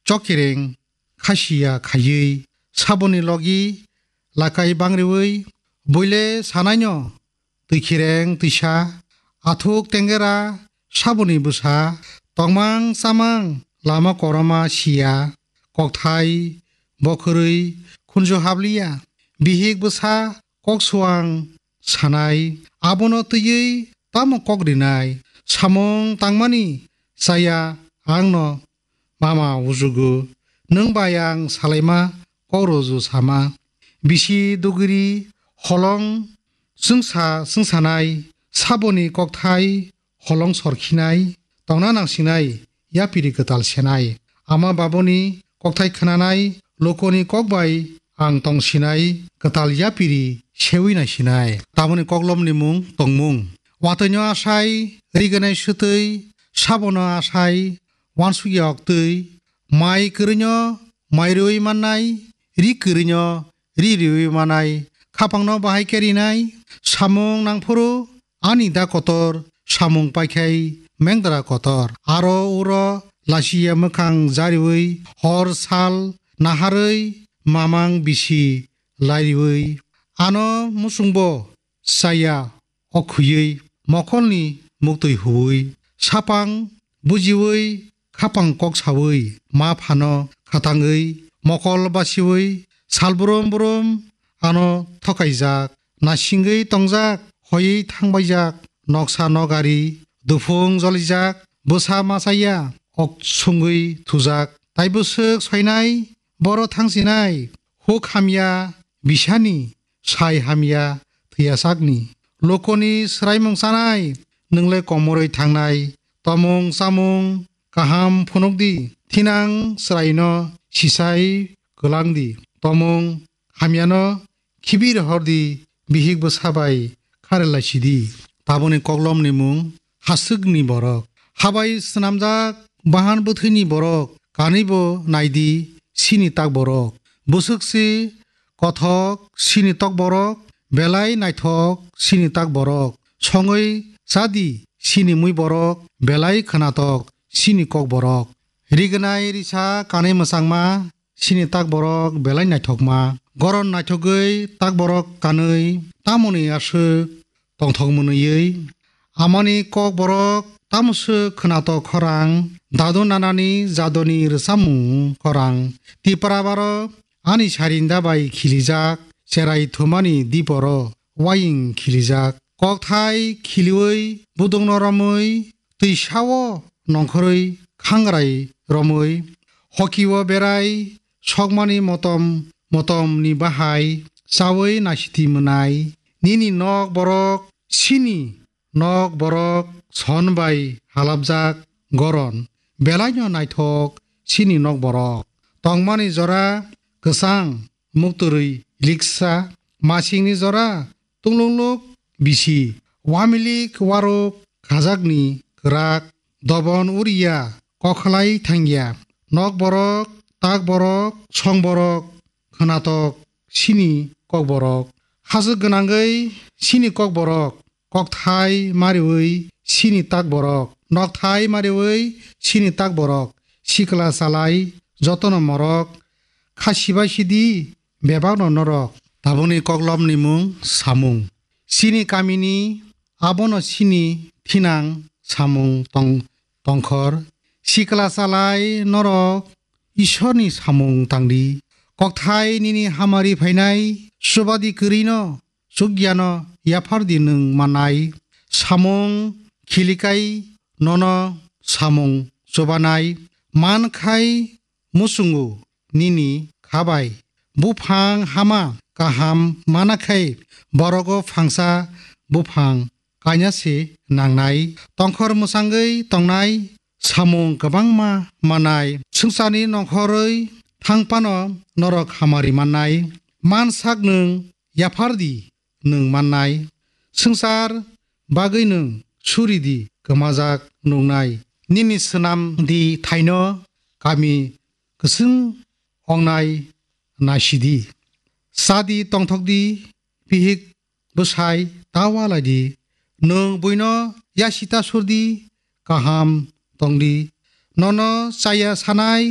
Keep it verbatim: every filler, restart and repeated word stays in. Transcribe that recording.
chokireng khasiya khaiwi, saboni logi lakai bangriwi, buile sanaino twikhireng twisa, athuk tengera saboni bwsa, tongmang chamang lama koroma siya, kokthai bokhorwi khunju habliya, bihik bwsa koksuang sanai, abono twiwi tamo kok rinai, samung tangmani chaya angno mama ujugu, nwng bai ang salaima kok roju sama, bisi dugri holong chwngsa chwngsanai, saboni kokthai holong sorkhinai, tongna nangsinai, yapiri kwtal senai. Ama baboni kokthai khwnanai, lokoni kok bai ang tongsinai, kwtal yapiri sewi naisinai. Taboni koklomni mung tongmung. Watwino asai, riganai swtwi, sabono asai, wansukya oktwi, mai kwrwino mai rwi mannai, ri kwrwino ri riwi manai, khapangno bahai khe rinai, samung nangphuru ani da kotor, samung paikhai mengdra kotor. Aro uro lasiya mwkhang jariwi, hor sal naharwi mamang bisi lairiwi, ano musungbo chaya okhuywi, mokolni muktwi huwi, sapang bujiwi, khapang kok sawi, ma phano khatangwi, mokol basiwi, sal brum brum ano thokaijak, nasingwi tongjak, hoiwi thangbaijak, noksa nogari, duphung jolijak, bwsa machaya, ok sungwi thujak, tai bwswk soinai, boro thangsinai, huk hamya, bisani, sai hamya thwiya sakni. Lokoni swraimung chanai, nwng le komorwi thangnai. Tomung chamung kaham phunukdi, thinang swraino sisai kwlangdi. Tomung hamyano khibi rohordi, bihik bwsa bai kharelaisidi. Taboni koklomni mung haswkni borok. Habai swnamjak bahan bwthwini borok, kanwibo naidi sini tak borok. Bwswk si kothok sini tok borok, belai naithok sini tak borok. Songwi chadi sini mui borok, belai khwnatok sini kok borok. Rignai risa kanwi mwchangma sini tak borok belai naithokma. Goron naithogwi tak borok kanwi tamoni aswk tongthok mwnwiwi. Amani kok borok tamoswk khwnatok khorang, dadu nanani jadoni rwchapmung khorang. Tipra baro ani sarinda bai khilijak, cherai thumani diporo waying khilijak. Kokthai khiliwi budukno romwi, twisao nongkhorwi khangrai romwi, hokio berai sokmani motom motomni bahai chawi naisiti mwnai. Nini nok borok sini nok borok son bai halapjak goron, belaino naithok sini nok borok. Tongmani jora kwchang mukturwi liksa, masingni jora tunglungluk bisi, wamilik waruk khajakni kwrak, dobon uriya kokhlai thangya. Nok borok, tak borok, song borok, khwnatok sini kok borok. Hachwk gwnangwi sini kok borok, kokthai mariwi sini tak borok, nokthai mariwi sini tak borok. Sikla chalai jotono morok, kha sibai sidi bebakno norok. Taboni koklomni mung samung. Sini kamini abono sini thinang samung tong-, tongkhor. Sikla chalai norok Isorni samung tangdi. Kokthai nini hamari phainai, chubadi kwrwino, chukyano yaphardi nwng mannai. Samung khilikai nono samung chubanai. Mankhai muchungo nini khabai. Buphang hama kaham manakhai borogo phangsa buphang kainase nangnai. Tongkhor mwchangwi tongnai, samung kwbangma manai. Swngcharni nongkhorwi thangphano norok hamari mannai. Mansak nwng yaphardi nwng mannai. Swngchar bagwi nwng suridi kwmajak nuknai. Nini swnamdi thaino kami kwchwng ongnai naisidi. Chadi tongthokdi, bihik bwsai ta ualaidi. Nwng buino yasita surdi, kaham tongdi. Nono chaya sanai